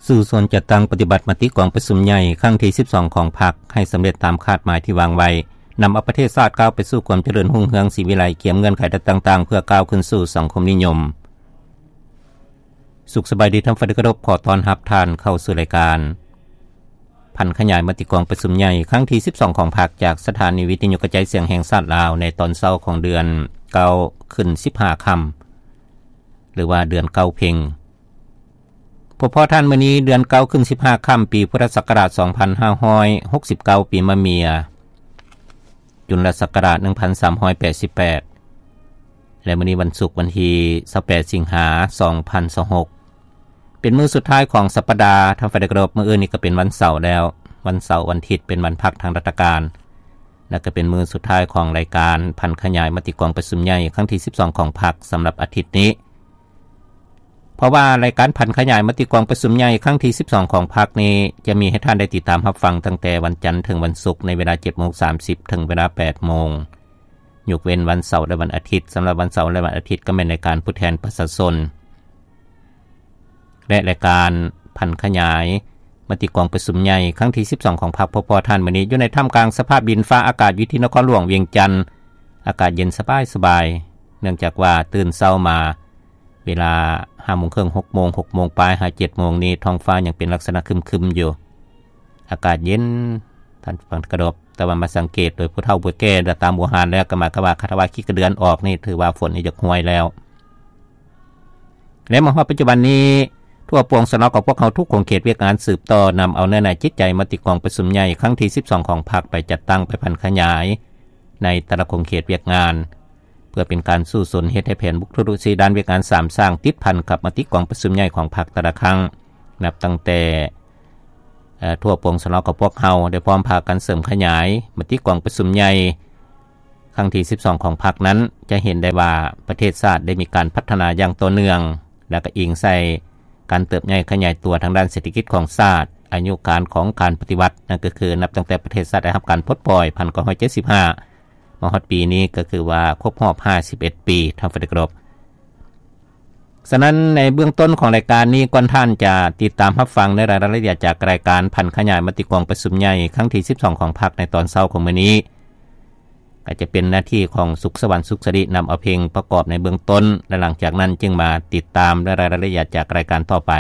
ສູ້ຊົນຈັດຕັ້ງປະຕິບັດມະຕິກອງປະຊຸມໃຫຍ່ຄັ້ງທີສິບສອງຂອງພັກ ໃຫ້ສຳເລັດຕາມຄາດໝາຍທີ່ວາງໄວ້, ນຳເອົາປະເທດຊາດກ້າວໄປສູ່ຄວາມຈະເລີນຮຸ່ງເຮືອງສີວິໄລ, ກຽມເງື່ອນໄຂຕ່າງໆ ເພື່ອກ້າວຂຶ້ນສູ່ສັງຄົມນິຍົມ. ສຸກສະບາຍດີທ່ານຜູ້ເຄົາລົບ, ຂໍຕ້ອນຮັບທ່ານເຂົ້າສູ່ລາຍການ ຜັນຂະຫຍາຍມະຕິກອງປະຊຸມໃຫຍ່ຄັ້ງທີສິບສອງຂອງພັກ ຈາກສະຖານີວິທະຍຸກະຈາຍສຽງແຫ່ງຊາດລາວ ໃນຕອນເຊົ້າຂອງເດືອນເກົ້າຂຶ້ນສິບຫ້າຄ່ຳ ຫຼືວ່າເດືອນເກົ້າເພັງ. ພົບພໍ້ທ່ານ ມື້ນີ້ເດືອນເກົ້າຂຶ້ນສິບຫ້າຄ່ຳ ປີພຸດທະສັກກະລາດສອງພັນຫ້າຮ້ອຍຫົກສິບເກົ້າ ປີມະເມຍ ຈຸນລະສັກກະລາດໜຶ່ງພັນສາມຮ້ອຍແປດສິບແປດ ແລະ ມື້ນີ້ວັນສຸກ ວັນທີຊາວແປດ ສິງຫາ ສອງພັນຊາວຫົກ ເປັນມື້ສຸດທ້າຍຂອງສັບປະດາ. ທ່ານຜູ້ເຄົາລົບ, ມື້ອື່ນນີ້ກໍເປັນວັນເສົາແລ້ວ, ວັນເສົາວັນທິດເປັນວັນພັກທາງລັດຖະການ ແລະ ກໍເປັນມື້ສຸດທ້າຍຂອງລາຍການຜັນຂະຫຍາຍມະຕິກອງປະຊຸມໃຫຍ່ຄັ້ງທີສິບສອງຂອງພັກສຳລັບອາທິດນີ້. ເພາະວ່າລາຍການຜັນຂະຫຍາຍມະຕິກອງປະຊຸມໃຫຍ່ຄັ້ງທີສິບສອງຂອງພັກນີ້ ຈະມີໃຫ້ທ່ານໄດ້ຕິດຕາມຮັບຟັງຕັ້ງແຕ່ວັນຈັນເຖິງວັນສຸກ ໃນເວລາເຈັດໂມງສາມສິບ ເຖິງເວລາແປດໂມງ, ຍົກເວັ້ນວັນເສົາ ແລະ ວັນອາທິດ. ສຳລັບວັນເສົາ ແລະ ວັນອາທິດ ກໍແມ່ນລາຍການຜູ້ແທນປະຊາຊົນ ແລະ ລາຍການຜັນຂະຫຍາຍມະຕິກອງປະຊຸມໃຫຍ່ຄັ້ງທີສິບສອງຂອງພັກ. ພົບພໍ້ທ່ານ ມື້ນີ້ຢູ່ໃນທ່າມກາງສະພາບດິນຟ້າອາກາດຢູ່ທີ່ນະຄອນຫຼວງວຽງຈັນ, ອາກາດເຢັນສະບາຍໆ ເນື່ອງຈາກວ່າຕື່ນເຊົ້າມາ ເວລາຫ້າໂມງເຄິ່ງ ຫົກໂມງ, ຫົກໂມງປາຍຫາເຈັດໂມງນີ້ ທ້ອງຟ້າຍັງເປັນລັກສະນະຄຶມໆຢູ່, ອາກາດເຢັນ ທ່ານຜູ້ເຄົາລົບ. ແຕ່ວ່າມາສັງເກດໂດຍຜູ້ເຖົ້າຜູ້ແກ່ ແລະ ຕາມບູຮານແລ້ວ ກໍໝາຍຄວາມວ່າ ຄັນວ່າຂີ້ກະເດືອນອອກນີ້ ຖືວ່າຝົນນີ້ຢາກຫ້ວຍແລ້ວ. ແລະ ມາຮອດປັດຈຸບັນນີ້ ທົ່ວປວງຊະນອກຂອງພວກເຮົາ ທຸກຂົງເຂດວຽກງານ ສືບຕໍ່ນຳເອົາເນື້ອໃນຈິດໃຈມະຕິກອງປະຊຸມໃຫຍ່ຄັ້ງທີສິບສອງຂອງພັກ ໄປຈັດຕັ້ງ, ໄປຜັນຂະຫຍາຍໃນແຕ່ລະຂົງເຂດວຽກງານ ເພື່ອເປັນການສູ້ຊົນເຮັດໃຫ້ແຜນບຸກທຸລຸສີ່ດ້ານວຽກງານສາມສ້າງ ຕິດພັນກັບມະຕິກອງປະຊຸມໃຫຍ່ຂອງພັກແຕ່ລະຄັ້ງ, ນັບຕັ້ງແຕ່ ເອີ່ ທົ່ວປວງຊະນອກຂອງພວກເຮົາໄດ້ພ້ອມພາກັນເສີມຂະຫຍາຍມະຕິກອງປະຊຸມໃຫຍ່ຄັ້ງທີສິບສອງຂອງພັກນັ້ນ, ຈະເຫັນໄດ້ວ່າປະເທດຊາດໄດ້ມີການພັດທະນາຢ່າງຕໍ່ເນື່ອງ ແລະ ກໍອີງໃສ່ການເຕີບໃຫຍ່ຂະຫຍາຍຕົວທາງດ້ານເສດຖະກິດຂອງຊາດ, ອາຍຸການຂອງການປະຕິວັດ, ນັ້ນກໍຄືນັບຕັ້ງແຕ່ປະເທດຊາດໄດ້ຮັບການປົດປ່ອຍ ພັນເກົ້າຮ້ອຍເຈັດສິບຫ້າ ມາຮອດປີນີ້ ກໍຄືວ່າຄົບຮອບຫ້າສິບເອັດປີ ທ່ານຜູ້ເຄົາລົບ. ສະນັ້ນ ໃນເບື້ອງຕົ້ນຂອງລາຍການນີ້, ກ່ອນທ່ານຈະຕິດຕາມຮັບຟັງໃນລາຍລະອຽດຈາກລາຍການຜັນຂະຫຍາຍມະຕິກອງປະຊຸມໃຫຍ່ຄັ້ງທີສິບສອງຂອງພັກໃນຕອນເຊົ້າຂອງມື້ນີ້, ກໍຈະເປັນໜ້າທີ່ຂອງສຸກສະຫວັນ ສຸກສະລິ ນຳເອົາເພງປະກອບໃນເບື້ອງຕົ້ນ ແລະ ຫຼັງຈາກນັ້ນຈຶ່ງມາຕິດຕາມໃນລາຍລະອຽດຈາກລາຍການຕໍ່ໄປ.